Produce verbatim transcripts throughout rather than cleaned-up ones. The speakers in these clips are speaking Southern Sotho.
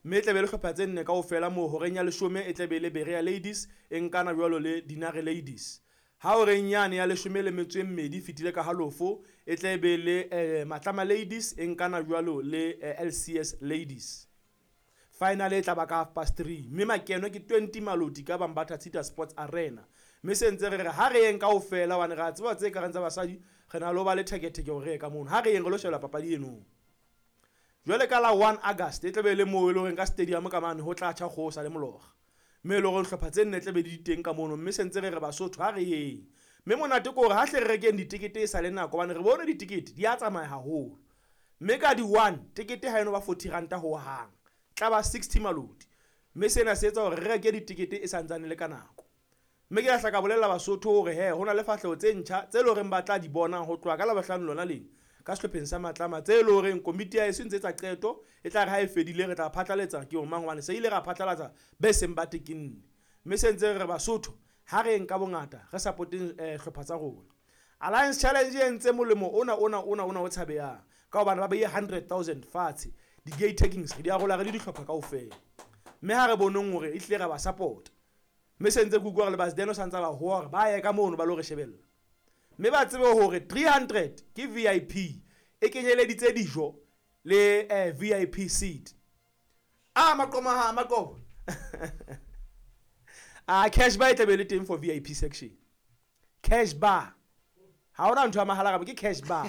Mme e tlabe le hlopha tse nne kaofela moo horeng ya leshome e tlabe le Berea Ladies e nkana jwalo le Dinare Ladies. Ha horeng yane ya leshome le metso e mmedi fetile ka halofo e tlabe le eh, Matlama Ladies e nkana jwalo le eh, L C S Ladies. Final e tla ba ka half past three mme makeno ke twenty Maloti ka Bambatha Tshita Sports Arena. Mme se ntse re re ha re yeng kaofela hobane re a tseba tse ka reng tsa basadi re na le ho ba le theketheke hore re ye ka mono. Ha re yeng re lo shebella papadi eno. Jwale ka la one August e tlabe le moo e leng ka stadium ka mane ho tla tjha kgosa le mologa. Mme e leng hore hlopha tse nne tlabe di teng ka mono mme se ntse re re Basotho ha re yeng. Mme monate ke hore ha hle re rekeng ditekete e sa le nako hobane re bone ditekete di a tsamaya haholo. Mme ka di one tekete ha eno ba forty ranta ho hang. Tla ba sixty Maloti. Mme sena se etsa hore re reke ditekete e santsane le ka nako. Mme ke a hla ka bolella Basotho hore he ho na le fahleho tse ntjha tse leng hore ba tla di bona ho tloha ka Labohlano lona lena ka sehlopheng sa Matlama tse leng hore komiti ya heso e ntse etsa qeto e tla re ha e fedile re tla phatlalatsa ke mang hobane se ile ra phatlalatsa be seng ba tekenne. Mme se ntse re re Basotho ha re nka bongata re supporteng eh hlopha tsa rona. Alliance Challenge e entse molemo ona ona ona ona o tshabehang ka hobane ba beile hundred thousand fatshe di gate takings re di arola re le dihlopha kaofela. Mme ha re boneng hore e hlile ra ba support. Mme se ntse ke utlwa hore le Basdeno sa ntse ba hoa hore ba ye ka mono ba lo re shebella. Mme ba tsebe hore three hundred ke V I P e kenyeleditse dijo le eh, V I P seat. Ah maqoma ha maqobo. Ah cash bar e tlabe le teng for V I P section. Cash bar. Ha hona ntho ya mahala ka ke cash bar.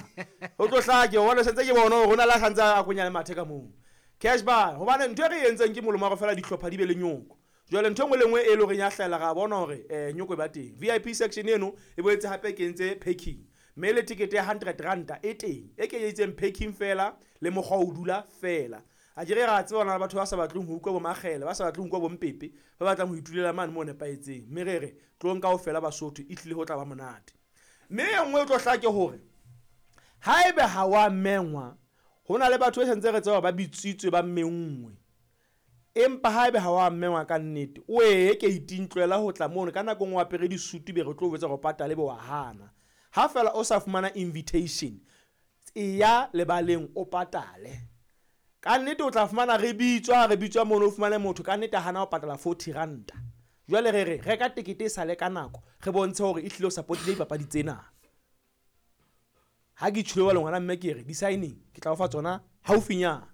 Ho tlo hlaka ke bona sentse ke bona hore hona la santse a konya le mathe ka moo. Cash bar hobane ntho e re entseng ke molemo wa go fela dihlopha di be le nyoko. Jwale ntho e nngwe le nngwe e leng hore ya hlahella ra bona hore eh nyoko e ba teng. V I P section eno e boetse hape ke entse packing. Mme le ticket ya hundred ranta e teng e kenyeditseng packing fela le mokgwa o dula fela. A ke re ra tseba hona le batho ba sa batleng ho utlwa bo makgele, ba sa batleng ho utlwa bo mpepe, ba batlang ho itulela mane mo nepahetseng. Mme re re tlong kaofela Basotho e tlile ho tla ba monate. Mme e nngwe e tlo hlaka ke hore haebe ha wa mengwa ho na le batho ba sentse re tseba ba bitsitswe ba menngwe. Empa haebe ha wa mengwa ka nnete o ye ke itintlwela ho tla mono ka nako nngwe o apere disutu be re tlo botsa go patale be wa hana. Ha fela o sa fumana invitation e ya lebaleng o patale. Ka nnete o tla fumana re bitswa re bitswa mono o fumane motho ka nnete hana o patala forty ranta. Jwale re re reka tekete e sale ka nako re bontshe hore e hlile o support-ile dipapadi tsena. Ha ke tjhilo le ngwana mme ke re di-signing ke tla o fa tsona haufinyana.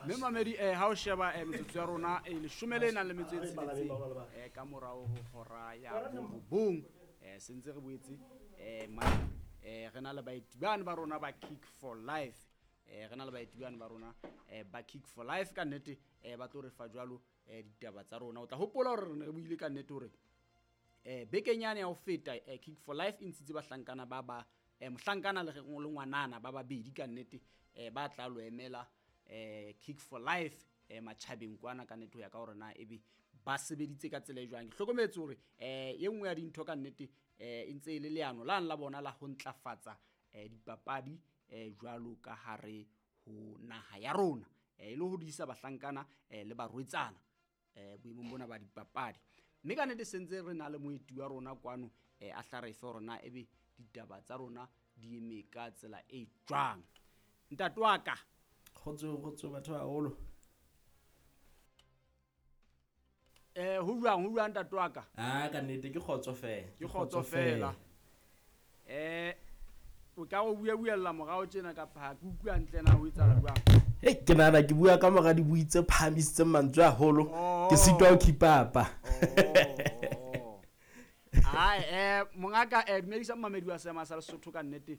Mme mamedi eh ha o sheba eh metsotso ya rona e leshome le nang le metso e tsheletseng eh ka morao ho hora ya borobong eh sentse re boetse eh ma eh re na le baeti bana ba rona ba Kick for Life eh re na le baeti bana ba rona eh ba Kick for Life ka nnete eh ba tlo re fa jwalo eh ditaba tsa rona. O tla hopola hore re ne re buile ka nnete hore eh bekenyane ya ho feta eh Kick for Life e ntshitse bahlankana ba ba eh mohlankana le le ngwanana ba babedi ka nnete eh ba tla lo emela eh Kick for Life eh matjhabeng kwana ka nnete ho ya ka hore na ebe ba sebeditse ka tsela e jwang. Ke hlokometse hore eh e nngwe ya dintho ka nnete eh e ntse e le leano la la bona la ho ntlafatsa eh dipapadi eh jwalo ka hare ho naha ya rona eh e le ho disa bahlankana eh le barwetsana eh boemong bona ba dipapadi. Mme ka nnete sentse re na le moeti wa rona kwano eh a hla re fe hore na ebe ditaba tsa rona di eme ka tsela e jwang. Ntate wa ka. Kgotso, kgotso batho ba haholo. Eh ho jwang, ho jwang ntate wa ka? Ah ka nnete ke kgotso fela. Ke kgotso fela. Eh o ka o bua buella morao tjena kapa ha ke utlwa hantle na ho etsahala jwang? Hei ke nahana ke bua ka mora dibui tse phahamisitseng mantswe haholo. Ke sitwa ho keep up. Ai eh mongaka eh dumedisa mamedi wa seema sa Lesotho ka nnete.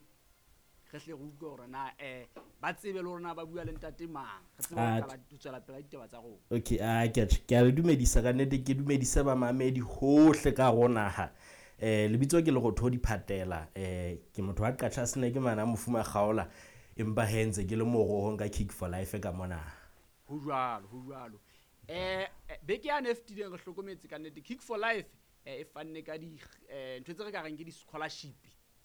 Re hle re utlwe hore na eh ba tsebe le hore na ba bua le ntate mang. Re tsebe ho qala ho tswela pele ditaba tsa rona. Okay, ah ke ke a le dumedisa ka nnete, ke dumedisa ba mamedi hohle ka rona ha. Eh lebitso ke Lerotho Diphatela, eh ke motho wa Qachatsene ke mana mofuma kgaola empa he ntse ke le morohong ka Kick for Life ka mona. Ho jwalo, ho jwalo. Eh beke ya ne fetileng re hlokometse ka nnete Kick for Life eh e fanne ka di eh ntho tse re ka reng ke di scholarship.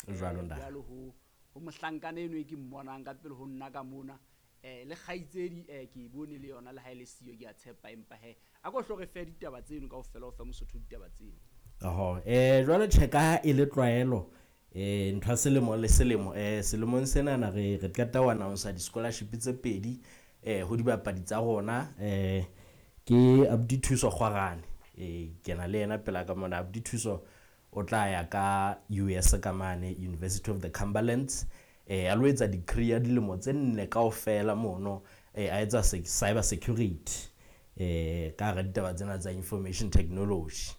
Jwalo nda. Jwalo ho ho mohlankana eno e ke mmonang ka pele ho nna ka mona eh le kgaitsedi eh ke e bone le yona le ha ile siyo ke a tshepa empa he a ko hlo re fe ditaba tseno kaofela o fe Mosotho ditaba tseno. Oho eh jwale check ha e le tlwaelo Eh ntho ya selemo le selemo eh selemong senana re re qeta ho announce di-scholarship tse pedi eh ho dibapadi tsa rona eh ke Abuti Thuso Kgwarane eh ke na le yena pela ka mona. Abuti Thuso o tla ya ka U S ka mane, University of the Cumberlands, eh a lo etsa degree ya dilemo tse nne kaofela mono, eh a etsa cyber security eh ka hara ditaba tsena tsa information technology.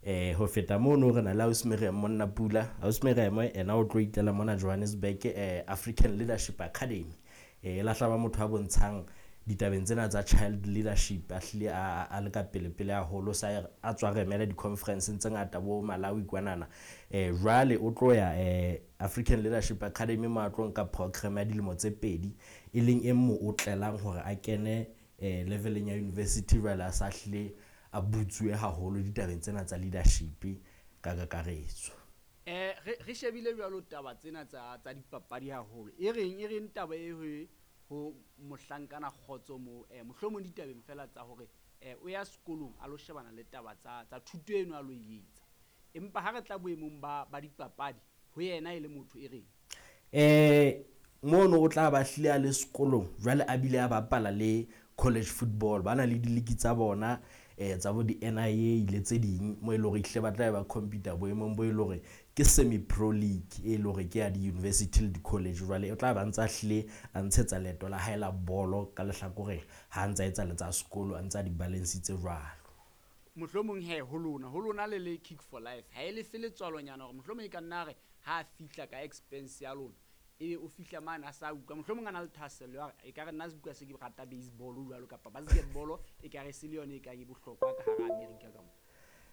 eh ho feta mono, re na le ausi Miriam Monna Pula. Ausi Miriam ena o tlo itlela mona Johannesburg, eh African Leadership Academy, eh e lahla ba motho a bontshang ditabeng tsena tsa child leadership, a hlile a a le ka pele pele haholo, sa a tswa remela di-conference tse ngata bo Malawi kwanana. eh jwale o tlo ya eh African Leadership Academy mo a tlo nka program ya dilemo tse pedi, e leng e mo o tlelang hore a kene eh leveleng ya university jwale a sa hlile a butsuwe haholo ditabeng tsena tsa leadership ka kakaretso. eh re re shebile jwalo taba tsena tsa tsa dipapadi haholo, e reng e reng taba e ho ho mohlankana Kgotso mo, eh mohlomong ditabeng fela tsa hore eh o ya sekolong a lo shebana le taba tsa tsa thuto eno a lo e etsa, empa ha re tla boemong ba ba dipapadi ho yena e le motho, e reng? eh mono o tla ba hlile a le sekolong jwale a bile a bapala le college football, ba na le diliki tsa bona eh tsa bo di-N I A le tse ding mo e le hore ehlile ba tla ba compete boemong bo e le hore ke semi pro league e le hore ke ya di-university le di-college. Jwale o tla ba ntsa hlile a ntshetsa leeto la hae la bolo ka lehlakoreng ha ntsa etsa le tsa sekolo, a ntsa di-balance-itse jwalo. Mohlomong he ho lona ho lona le le Kick for Life, ha e lefe letswalonyana hore mohlomong e ka nna re ha a fihla ka expense ya lona, ebe o fihla mane a sa utlwa, mohlomong a na le thahasello ya hore e ka re nna se se ke rata baseball jwalo kapa basketball, e ka re se le yone e ka e bohlokwa ka hara America ka mo?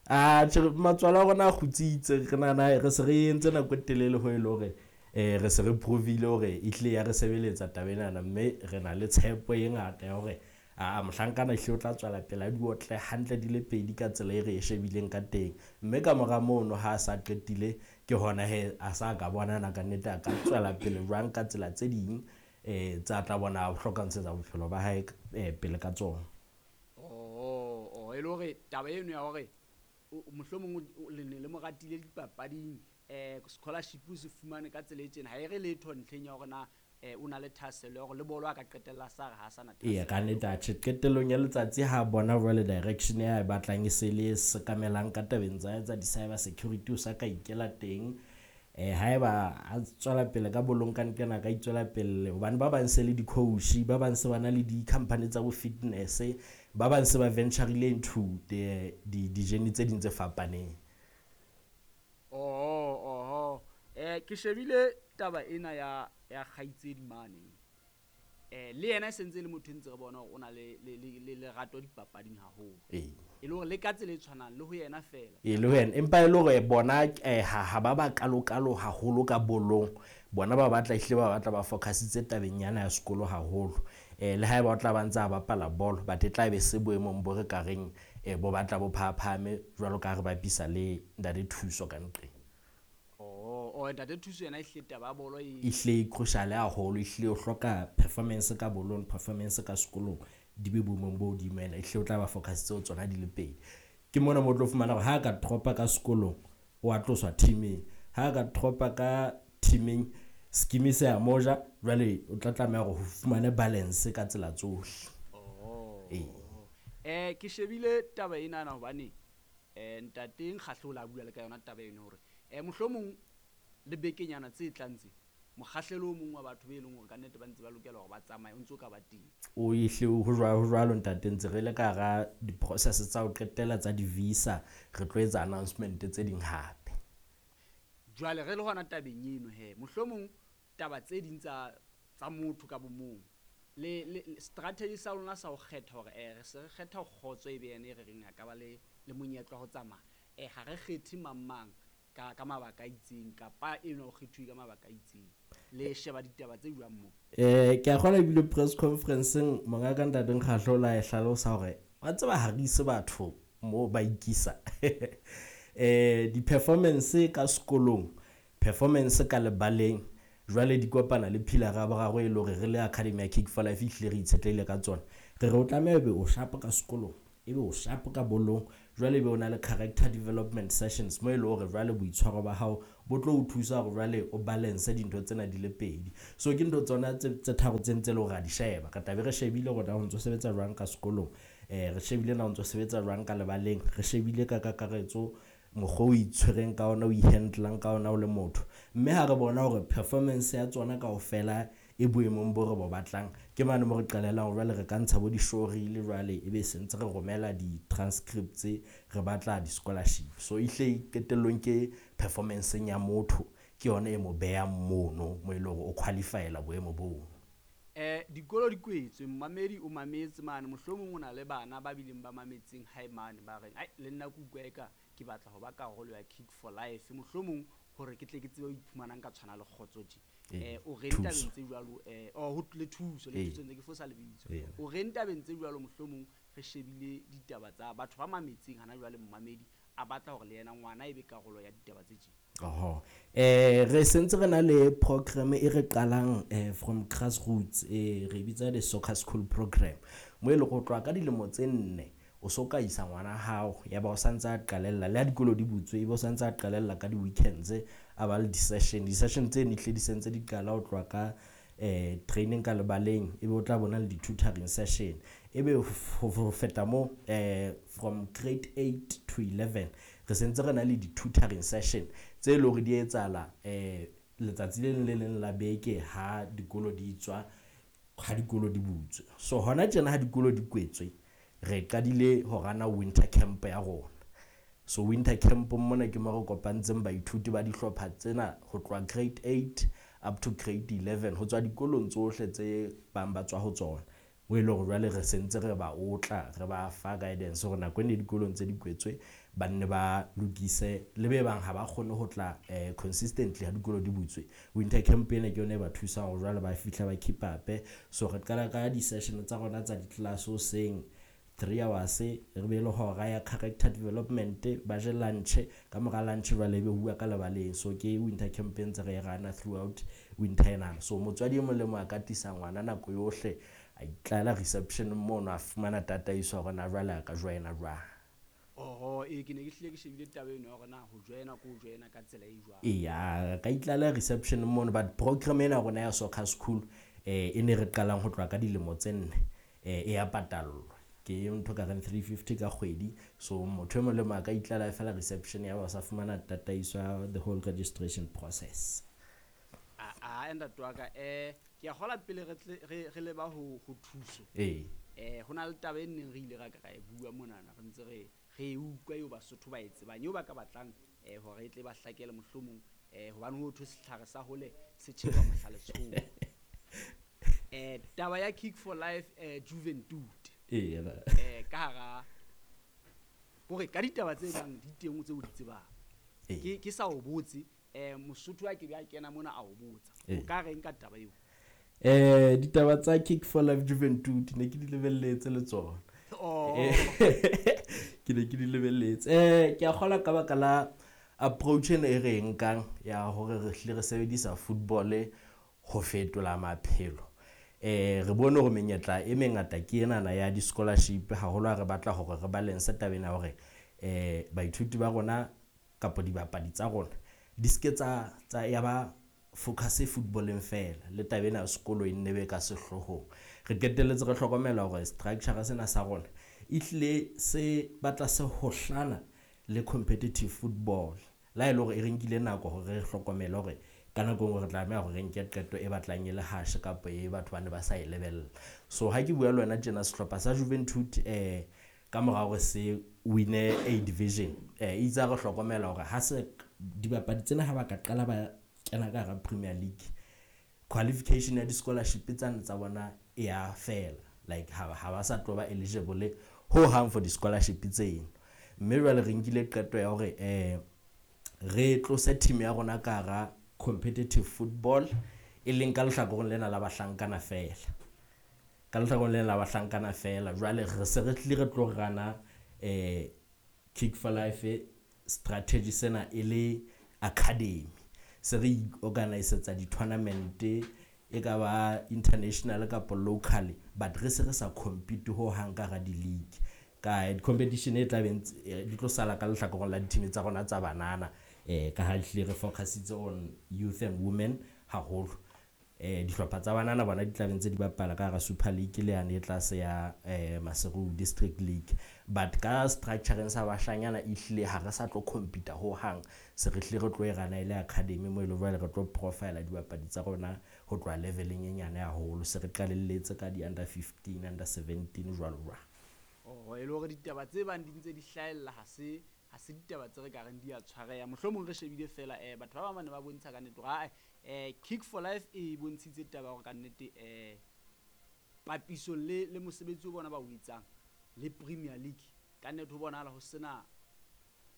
A tjhe, matswalo a rona a kgutsitse. Re nahana re se re entse nako e telele ho e le hore eh re se re provile hore e hlile ya re sebeletsa taba enana, mme re na le tshepo e ngata ya hore a mohlankana ehlile o tla tswela pele a di otle hantle di le pedi ka tsela e re e shebileng ka teng. Mme ka mora mono, ha a sa qetile, ke hona he a sa ka bonana ka nnete a ka tswela pele jwang ka tsela tse ding um tsa tla bona a hloka ntshetsa bophelo ba hae um pele ka tsona. Oh, oh, e le hore taba eno ya hore mohlomong le ne le mo ratile dipapading, um scholarship o se fumane ka tsela e tjena, ha e re letho ntlheng ya hore na um o na le thahasello ya hore le bolo a ka qetella sa re ha sa na. Eya, ka nnete. Atjhe, qetellong ya letsatsi ha bona jwale direction ya e batlang e se le sekamelang ka tabeng tsa tsa di-cyber security, o sa ka ikela teng. um haeba a tswela pele ka bolong ka nqena, ka itswela pele, hobane ba bang se le di-coach, ba bang se ba na le di-company tsa bo fitness, ba bang se ba venturile into di-journey tse ding tse fapaneng. Oho, oho, eh ke shebile taba ena ya ya kgaitsedi mane, eh le yena e sentse le motho e ntse re bona hore o na le le le lerato dipapading haholo. Ee. E le hore le ka tsela e tshwanang le ho yena feela? E le ho yena, empa e le hore bona eh ha ha ba ba kalokalo haholo ka bolong. Bona ba batla ehlile ba batla ba focusitse tabeng yana ya sekolo haholo. eh le haeba o tla ba ntse a bapala bolo, but e tla be se boemong bo re ka reng eh bo batla bo phahaphame jwalo ka ha re bapisa le ntate Thuso ka nqeng. Oh, oh, ntate Thuso yena e hlile taba ya bolo e Ehlile e crucial haholo, ehlile o hloka performance ka bolong, performance ka sekolong di be boemong bo hodimo. Ena ehlile o tla ba focusitse ho tsona di le pedi. Ke mona mo o tlo fumana hore ha a ka dropa ka sekolong, o a tloswa teaming, ha a ka dropa ka teaming, scheme se a moja. Jwale o tla tlameha hore ho fumane balance ka tsela tsohle. Oh. Ee. eh ke shebile taba enana hobane eh ntate Nkgahlo o la bua le ka yona taba eno hore eh mohlomong le bekenyana tse tlang tse, mokgahlelo o mong wa batho be leng hore ka nnete ba ntse ba lokela hore ba tsamaye o ntso ka ba teng. O ehle ho jwalo, ho jwalo ntate. Ntse re le ka hara di-process tsa ho qetela tsa di-visa, re tlo etsa announcement tse ding hape. Jwale re le hona tabeng eno he, mohlomong taba tse ding tsa tsa motho ka bo mong le le strategy sa lona sa ho kgetha hore eh re se re kgetha Kgotso e be yena e re reng a ka ba le le monyetla wa ho tsamaya, eh ha re kgethe mang mang ka ka mabaka a itseng, kapa eno o kgethuwe ka mabaka a itseng, le sheba ditaba tse jwang moo? eh ke a kgona ebile press conferenceng mongaka ntate Nkgahlo o la e hlalosa hore wa tseba ha re ise batho mo ba ikisa eh di-performance ka sekolong, performance ka lebaleng, jwale di kopana le pillar ya boraro e le hore re le academy ya Kick for Life ehlile re itshetlehile ka tsona. Re re o tlameha ebe o sharp ka sekolong, ebe o sharp ka bolong. Jwale be o na le character development sessions mo e le hore jwale boitshwaro ba hao bo tlo o thusa hore jwale o balance dintho tsena di le pedi. So ke ntho tsona tse tse tharo tse ntse le hore ra di sheba. Re tlabe re shebile hore na o ntso sebetsa jwang ka sekolong, eh re shebile na o ntso sebetsa jwang ka lebaleng, re shebile ka kakaretso mokgwa o itshwereng ka ona, o i-handle-ang ka ona o le motho. Mme ha re bona hore performance ya tsona kaofela e boemong bo re bo batlang, ke mane mo re qalelang hore jwale re ka ntsha bo di-showreel jwale ebe se ntse re romela di-transcripts, re batla di-scholarship. So ehlile qetellong ke performance-eng ya motho ke yona e mo behang mono mo e leng hore o qualify-ela boemo boo. Eh dikolo di kwetswe, mmamedi o mametse mane, mohlomong o na le bana ba bileng ba mametseng hae mane ba reng ai le nna ke utlwa eka ke batla ho ba karolo ya Kick for Life, mohlomong hore ke tle ke tsebe ho iphumanang ka tshwana le kgotso tje. Ee, Eh o reng thuso. tabeng tse jwalo, eh oh ho le thuso, le Ee. thuso ntse ke fosa lebitso. Ee. O reng tabeng tse jwalo, mohlomong re shebile ditaba tsa batho ba mametseng hana jwale, mmamedi a batla hore le yena ngwana e be karolo ya ditaba tse tje. Oho. Eh re sentse re na le program e re qalang eh from grassroots, eh re bitsa the soccer school program. Mo e leng ho tloha ka dilemo tse nne o so ka isa ngwana hao, ya ba o santse a qalella le ha dikolo di butswe, ebe o santse a qalella ka di-weekends a ba le di-session. Di-session tse ne hlile di sentse di qala ho tloha ka eh training ka lebaleng, ebe o tla bona le di-tutoring session. Ebe ho feta mo eh from grade eight to eleven re sentse re na le di-tutoring session tse leng hore di etsahala eh letsatsi le leng le leng la beke ha dikolo di tswa, ha dikolo di butswe. So hona tjena ha dikolo di kwetswe, re qadile ho rana winter camp ya rona. So winter camp mona ke mo re kopantseng baithuti ba dihlopha tsena ho tloha grade eight up to grade eleven, ho tswa dikolong tsohle tse bang ba tswa ho tsona. Mo e leng hore jwale re sentse re ba otla, re ba fa guidance hore nako e ne dikolong tse di kwetswe ba nne ba lokise, le be bang ha ba kgone ho tla eh consistently ha dikolo di butswe. Winter camp ena ke yona e ba thusang hore jwale ba fihla ba keep up. So re qala ka di-session tsa rona tsa di-class hoseng three hours, re be le hora ya character development, ba je lunch, ka mora lunch jwale ebe bua ka lebaleng. So ke winter camp e ntse re e rana throughout winter enana. So motswadi e mong le mong a ka tlisa ngwana nako yohle, a itlala reception mono, a fumana tataiso hore na jwale a ka joina jwang. Oho, ee ke ne ke hlile ke shebile taba eno ya hore na ho joina ke ho joina ka tsela e jwang. Eya, ka itlala reception mono, but program ena ya rona ya soccer school eh e ne re qalang ho tloha ka dilemo tse nne, eh e ya patallwa. Ke ntho ka reng three fifty ka kgwedi. So motho e mong le mong a ka itlala fela reception ya ba sa fumana tataiso ya the whole registration process. A a ntate wa ka, eh ke a kgola pele re tle re re leba ho ho thuso. Ee. Eh ho na le taba e neng re ile ra ka ra e bua monana, re ntse re re e utlwa eo Basotho ba e tsebang, eo ba ka batlang eh hore e tle ba hlakele mohlomong, eh hobane ho thwe setlhare sa hole se tjhekwa mohla letsholo. Eh taba ya Kick for Life eh Juventud. Ee, ba. Eh ka hara hore ka ditaba tse bang di teng tseo o di tsebang. Ee. Ke ke sa o botse, eh Mosotho a ke be a kena mona a o botsa. Ee. O ka reng ka taba eo? Eh ditaba tsa Kick for Life Juventud ne ke di lebelletse le tsona. Oh. Eh, ke ne ke di lebelletse. Eh ke a kgola ka baka la approach ena e re e nkang ya hore re hlile re sebedisa football ho fetola maphelo. Eh re bone hore menyetla e mengata ke enana ya di-scholarship, haholo ha re batla hore re balance taba ena hore eh baithuti ba rona kapa dibapadi tsa rona di ske tsa, tsa ya ba focus footballeng fela, le taba ena ya sekolo e nne be ka sehloohong. Re qetelletse re hlokomela hore structure sena sa rona e hlile se batla se hohlana le competitive football. La e le hore e re nkile nako hore re hlokomele hore ka nako e nngwe re tlameha hore re nke qeto e batlang e le harsh kapa e batho ba ne ba sa e lebella. So ha ke bua le wena tjena, sehlopha sa Juventud eh ka mora hore se win-e A division, eh itse ha re hlokomela hore ha se dibapadi tsena ha ba ka qala ba kena ka hara Premier League, qualification ya di-scholarship tsane tsa bona e ya fela. Like ha, ha ba sa tlo ba eligible ho hang for di-scholarship tseno. Mme jwale re nkile qeto ya hore eh re tlose team ya rona ka hara competitive football, e leng ka lehlakoreng lena la bahlankana fela. Ka lehlakoreng lena la bahlankana fela. Jwale re se re tlile re tlo rana eh Kick for Life strategy sena e le academy. Se re organisetsa di-tournament e ka ba international kapa locally, but re se re sa compete ho hang ka hara di-league. Ka di-competition e tla beng di tlo sala ka lehlakoreng la di-team tsa rona tsa banana, eh ka ha ehlile re focusitse on youth and women haholo. Eh dihlopha tsa banana bona di tla be ntse di bapala ka hara Super League le yane e tlase ya eh Maseru District League. But ka structureng sa bashanyana ehlile ha re sa tlo compete ho hang, se re hlile re tlo e rana e le academy mo e leng jwale re tlo profile dibapadi tsa rona ho tloha leveleng e nyane haholo. Se re qalelletse ka di under fifteen, under seventeen jwalo jwalo. Oh, e le hore ditaba tse bang di ntse di hlahella ha se ha se ditaba tse re ka reng di a tshwareha. Mohlomong re shebile fela eh batho ba bang ba ne ba bontsha ka nnete hore ae eh Kick for Life e bontshitse taba hore ka nnete eh papiso le le mosebetsi o bona ba o etsang le Premier League ka nnete ho bonahala ho sena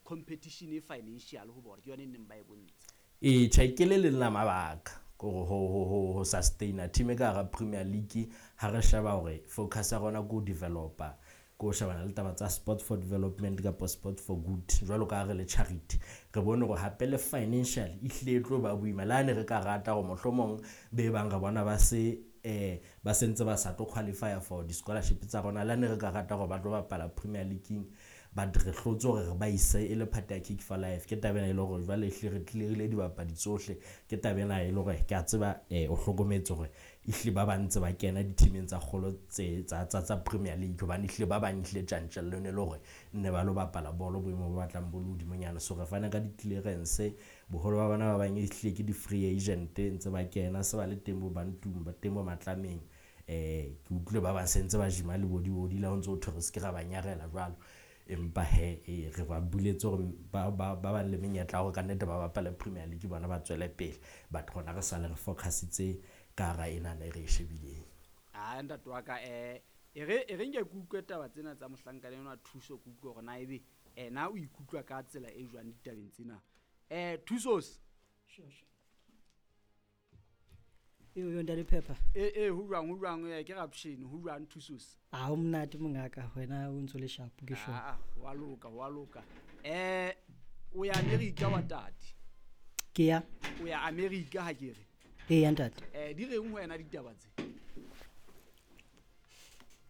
competition e financial ho bona, ke yona e neng ba e bontsha. E tjhe, ke le leng la mabaka ho ho ho ho sustain team e ka hara Premier League. Ha re sheba hore focus ya rona ke ho developer, ko shebana le taba tsa sport for development kapa sport for good jwalo ka ha re le charity, re bone hore hape le financial ehlile e tlo ba boima. Le ha ne re ka rata hore mohlomong be bang re bona ba se eh ba sentse ba sa tlo qualify for di-scholarship tsa rona, le ha ne re ka rata hore ba tlo bapala Premier League, but re hlotse hore re ba ise e le part ya Kick for Life. Ke taba ena e le hore jwale ehlile re clearile dibapadi tsohle. Ke taba ena e le hore ke a tseba eh o hlokometse hore ehlile ba bang ntse ba kena di-teameng tsa kgolo tse tsa tsa tsa Premier League, hobane ehlile ba bang ehlile tjantjello ne le hore nne ba lo bapala bolo boemo bo batlang bo le hodimonyana. So re fana ka di-clearance, boholo ba bona ba bang ehlile ke di-free agent ntse ba kena, se ba le teng bo Bantung, ba teng bo Matlameng. Eh ke utlwile ba bang se ntse ba jima le bo di-body la ho ntso ho thwe re se ke ra ba nyarela jwalo. Empa he e re ba buletse hore ba ba ba bang le menyetla ya hore ka nnete ba bapale Premier League, bona ba tswele pele. But rona re sale re focusitse ka hara enana e re e shebileng. Ah, ntate wa ka eh e re e re nke ke utlwe taba tsena tsa mohlankana enwa Thuso, ke utlwe hore na ebe ena o ikutlwa ka tsela e jwang ditabeng tsena. Eh Thusos. Sure, sure. Eo yo ntate Phepha. Eh eh ho jwang, ho jwang, eh ke Rapshini, ho jwang Thusos? Ah, ho monate mongaka, wena o ntso le sharp ke sure. Ah, wa loka, wa loka. Eh o ya America wa tate? Ke ya. O ya America ha ke re? Ee, ya ntate. Eh di reng ho wena ditaba tse?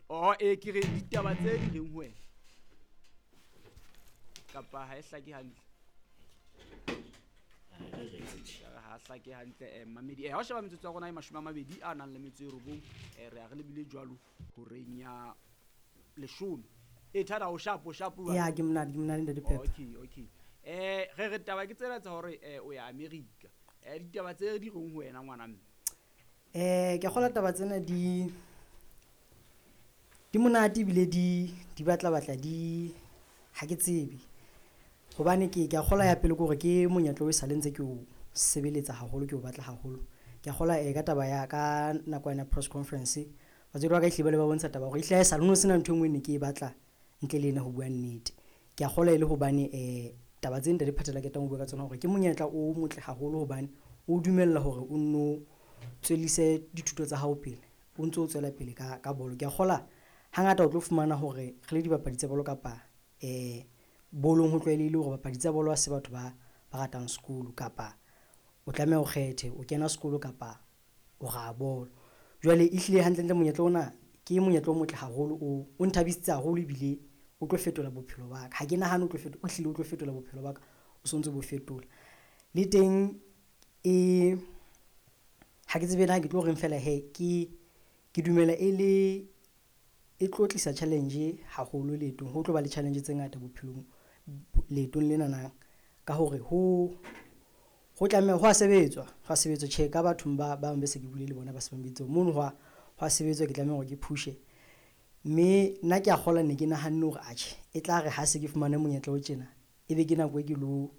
Oh, eh ke re ditaba tse di reng ho wena? Kapa ha e hlake hantle? Ha hlake hantle eh mamedi. Eh ha o sheba metsotso ya rona e mashome a mabedi a nang le metso e robong, eh re a re lebile jwalo horeng ya leshome. E thada o sharp, o sharp jwang? Ya, ke monate, ke monate ntate Phepha. Okay, okay. Eh re re taba ke tsena tsa hore eh o ya America. Eh ditaba tse di reng ho wena ngwana mme? Eh ke kgola taba tsena di di monate ebile di di batla batla di ha ke tsebe. Hobane ke ke a kgola ya pele ke hore ke monyetla o e sale ntse ke o sebeletsa haholo, ke o batla haholo. Ke a kgola eh ka taba ya ka nako ya press conference, batswadi ba ka ehlile ba le ba bontsha taba hore ehlile ha e sale ho no sena ntho e nngwe e ne ke e batla ntle le ena ho bua nnete. Ke a kgola e le hobane eh taba tse ntate Phathela ketang ho bua ka tsona hore ke monyetla o motle haholo hobane o dumella hore o nno tswellise dithuto tsa hao pele, o ntso o tswela pele ka ka bolo. Ke a kgola hangata o tlo fumana hore re le dibapadi tsa bolo kapa eh bolong ho tlwaelehile hore bapadi tsa bolo ha se batho ba ba ratang sekolo, kapa o tlameha o kgethe o kena sekolo kapa o raha bolo. Jwale ehlile hantlentle monyetla ona ke monyetla o motle haholo, o o nthabisitse haholo ebile o tlo fetola bophelo ba ka. Ha ke nahane o tlo fetola, o hlile o tlo fetola bophelo ba ka, o sontso bo fetola. Le teng e ha ke tsebe na ke tlo reng fela he ke ke dumela e le e tlo tlisa challenge haholo leetong. Ho tlo ba le challenge tse ngata bophelong leetong lena na, ka hore ho ho tlameha ho a sebetswa, ho a sebetswa. Tjhe, ka bathong ba bang be se ke buile le bona ba se ba mpiditse mono, ho a ho a sebetswa, ke tlameha hore ke push-e. Mme nna ke a kgola ne ke nahanne hore atjhe e tla re ha se ke fumane monyetla o tjena, ebe ke nako e ke lo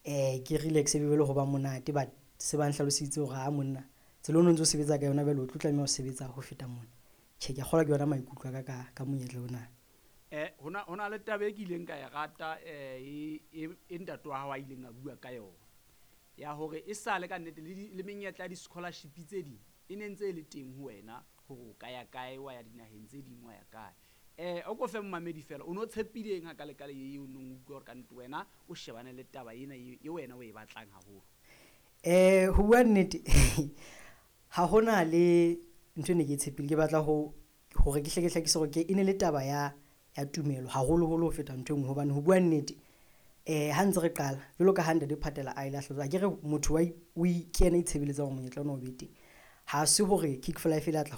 eh ke relax e be le ho ba monate. But se ba nhlaloseditse hore ha monna tsela o no ntso sebetsa ka yona jwale o tlo tlameha ho sebetsa ho feta mona. Tjhe, ke a kgolwa ke yona maikutlo a ka ka ka monyetla ona. Eh hona hona le taba e ke ileng ka e rata eh e e ntate wa hao a ileng a bua ka yona ya hore e sale ka nnete le le menyetla ya di-scholarship tse ding e ne ntse e le teng ho wena hore o ka ya kae, wa ya dinaheng tse ding, wa ya kae. Eh o ko fe mmamedi fela o no tshepileng ha ka le kale eo nong utlwa hore ka nnete wena o shebane le taba ena e wena o e batlang haholo. Eh ho bua nnete ha hona le ntho e ne ke tshepile, ke batla ho hore ke hle ke hlakise hore ke e ne le taba ya ya tumelo haholoholo ho feta ntho e nngwe. Hobane ho bua nnete, um ha ntse re qala jwalo ka ha ntate Phatela a ile a hlalosa, akere motho wa o ke yena a itshebeletsang hore monyetla ona o be teng. Ha se hore Kick for Life e la tla